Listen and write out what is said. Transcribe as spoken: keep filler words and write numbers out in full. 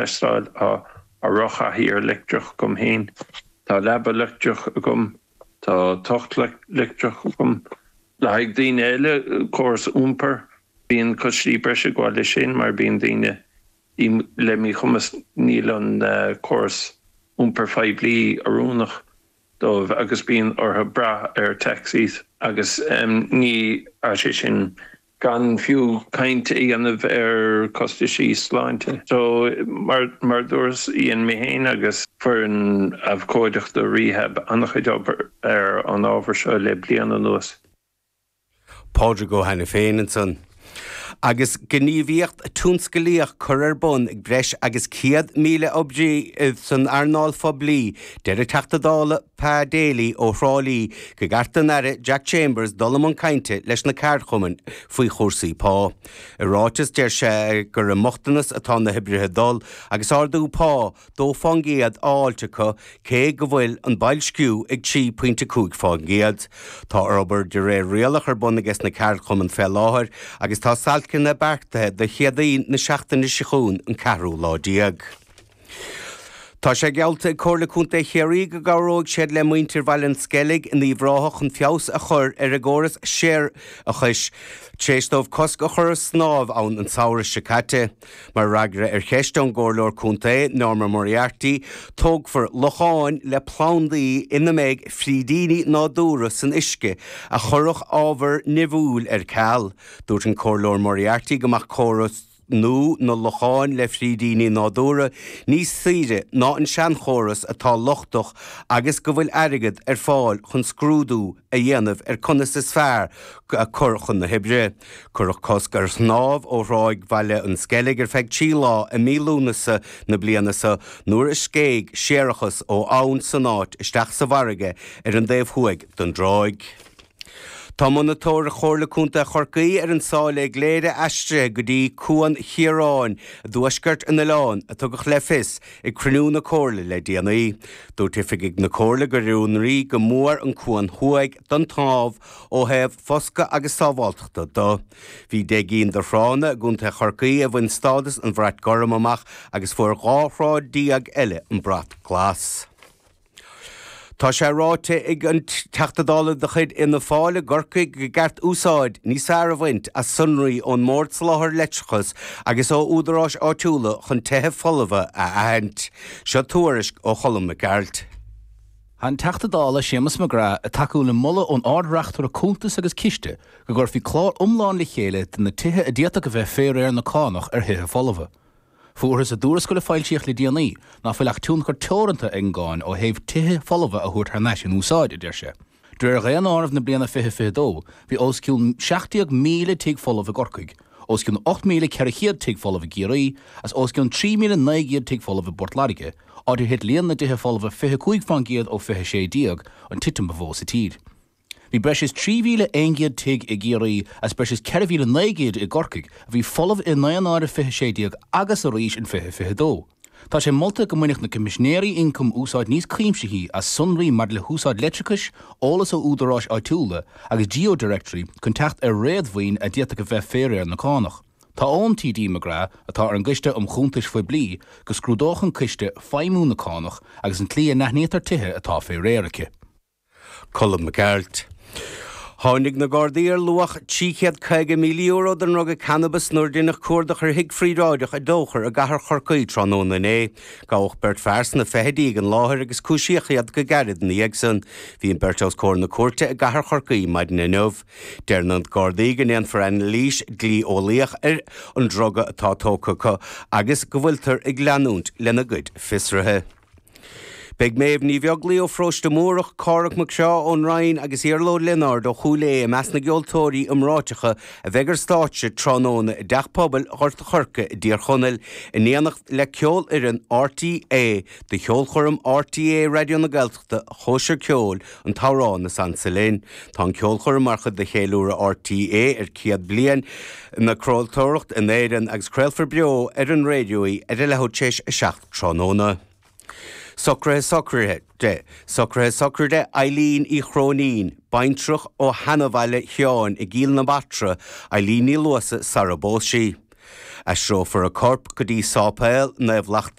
Tá tá rotharchathaoir leictreach agam féin, Tá leaba leictreach agam, tá tocht leictreach agam. Le haghaidh daoine eile córas iompair bíonn costais breise ag gabháil leis sin mar bíonn daoine le míchumas níl an uh, córas iompair phoiblí oiriúnach dóibh agus bíonn orthu brath ar taxis agus um, ní sé sin gan fiú caint a dhéanamh ar costais sláinte. So mar mar dúirt Ian mé féin agus foireann abhcóideachta Rehab an-chuid obair ar an ábhar seo le bliain anuas. Pádraig Ó hAiniféin ansan. Agus gníomhaíocht tionsclaíoch curtha ar bun ag breis agus céad míle oibrí san earnáil phoiblí, deir an Teachta Dála Pa Daly ó Thrá Lí gur cheart don Aire Jack Chambers dul i mbun cainte leis na ceardchumainn faoi chúrsaí pá. I ráiteas deir sé gur i mbochtanas atá na hoibrithe dul agus ardú pá dó faoin gcéad á fháilt acu cé go bhfuil an boilsciú ag trí pointe cúig faoin gcéad. Tá obair de réir rialach ar bun aige na ceardchumainn fé láthair agus tá stailceanna beartaithe do Chéadaoin na seachtaine seo chugainn an ceathrú lá déag. Tá sé geallta ag Comhairle Contae Chiarraí go gcabhróidh siad le muintir Bhaile an Sceilg in Uíbh Ráthach chun feabhas a chur ar a gcóras séarachais tar éis dóibh cosc a chur ar snámh ann an samhradh seo caite. Mar fhreagra ar cheist ón gComhairleoir Contae Norma Moriarty, tógfar locháin le plandaí ina mbeidh frídíní nádúrtha san uisce a chuirfeadh ábhar nimhiúil ar ceal. Dúirt an Comhairleoir Moriarty go mbeadh córas nua na locháin le frídíní nádúrtha níos saoire ná an seanchóras atá lochtach agus go bhfuil airgead ar fáil chun scrúdú a dhéanamh ar conas is fearr a chur chun na hoibre. Cuireadh cosc ar shnámh ó thráigh Bhaile an Sceilg ar feadh trí lá i mí Lúnasa na bliana seo nuair a scéigh séarachas ó abhainn san áit isteach sa bhfarraige ar an dtaobh thuaidh den dtráigh. Tá monatóir Chomhairle Contae Chorcaí ar an sáile Gléire aistrithe go dtí Cuan Chiaráin i dtuaisceart an oileáin a tugadh le fios ag cruinniú na Comhairle le déanaí. Dúirt oifigigh na Comhairle gur oiriúnaí go mór an cuan thuaidh don tsnámh ó thaobh foscadh agus sábháilteachta de. Bhí deich gcinn de thránna i gContae Chorcaí a bhain stádas an bhrait gorm amach agus fuair dhá thrá déag eile an brat glas. Tá sé ráite ag an Teachta Dála de chuid Fhianna Fáil i gCorcaigh gur cheart úsáid níos fearr a bhaint as sonraí ón mBord Soláthair Leictreachais agus ó údaráis áitiúla chun tithe folmha a aithint. Seo tuairisc ó Cholm Mac Gearailt. An Teachta Dála Séamus McGrath ag tacú le moladh ón Ard-Reachtaire Cuntas agus Ciste go gcuirfí clár iomlán le chéile de na tithe a d'fhéadfadh a bheith fé réir na cánach ar thithe folmha. Fuarthas i dtuarascáil a foilsíodh le déanaí ná fuil ach tionchar teoranta ag an gcáin ó thaobh tithe folmha a thabhairt thar n-ais in úsáid, a deir sé. De réir dhaonáireamh na bliana fiche fiche dó, bhí os cionn seacht déag míle tigh folamh i gCorcaigh, os cionn ocht míle ceithre chéad tigh folamh i gCiarraí, as os cionn trí míle naoi gcéad tigh folamh i bPort Láirge, áit ar thit líon na dtithe folmha fiche cúig faoin gcéad ó fiche sé déag, an titim ba mhó sa tír. Bhí breis is trí mhíle aon gcéad tigh i gCiarraí as breis is ceithre mhíle naoi gcéad i gCorcaigh a bhí folamh i ndaonáireamh fiche sé déag agus arís in fiche fiche dó. Tá sé molta go mbainfeadh na Coimisinéirí Ioncaim úsáid níos cuimsithí as sonraí maidir le húsáid leictreachais, eolas ó údaráis áitiúla agus GeoDirectory chun teacht ar réadmhaoin a d'fhéadfadh a bheith fé réir na cánach. Tá ón TD McGrath atá ar an gCoiste um Chuntais Phoiblí go scrúdódh an coiste feidhmiú na cánach agus an tslí a n-aithnítear tithe atá fé réir aici. Colm Mac Gearailt. Tháinig na Gardaí ar luach trí chéad caoga míle euro den ndruga cannabis nuair a deineadh cuardach ar thigh phríobháideach i dTóchar i gcathair Chorcaí tráthnóna inné. Gabhadh beirt fear sna fichidí ag an láthair agus cúisíodh iad go gairid ina dhiaidh san. Bhí an beirt os comhair na cúirte i gcathair Chorcaí maidin inniu. Deir na Gardaí go ndéanfar anailís dlí-eolaíoch ar an druga atá tógtha acu agus go bhfuiltear ag leanúint lena gcuid fiosruithe. Beidh Méabh Ní Bheaglaoich ó Pharóiste Múrach, Cárthach Mac Seá ón Rinn agus Iarla Ó Lionáird ó Chúil Aodha i measc na gceoltóirí iomráiteacha a bheidh ar stáitse tráthnóna i dTeach Pobail Ghort an Choirce i dTír Chonaill in éineacht le ceolfhoireann RTÉ do cheolchoirm RTÉ Raidió na Gaeltachta Cóisir Ceoil an t-amhrán is ansa linn. Tá an ceolchoirm mar chuid de cheiliúradh RTÉ ar céad bliain na craoltóireachta in Éirinn agus craolfar beo ar an raidió í ar a leathuair tar éis a seacht tráthnóna. Socruithe sochraide Socruithe sochraide Eileen Uí Chróinín, baintreach ó sheanabhaile Sheáin i gCill na Martra, Eileen Ní Luasa sara bpós sí. Aistreofar a corp go dtí Sáipéal Naomh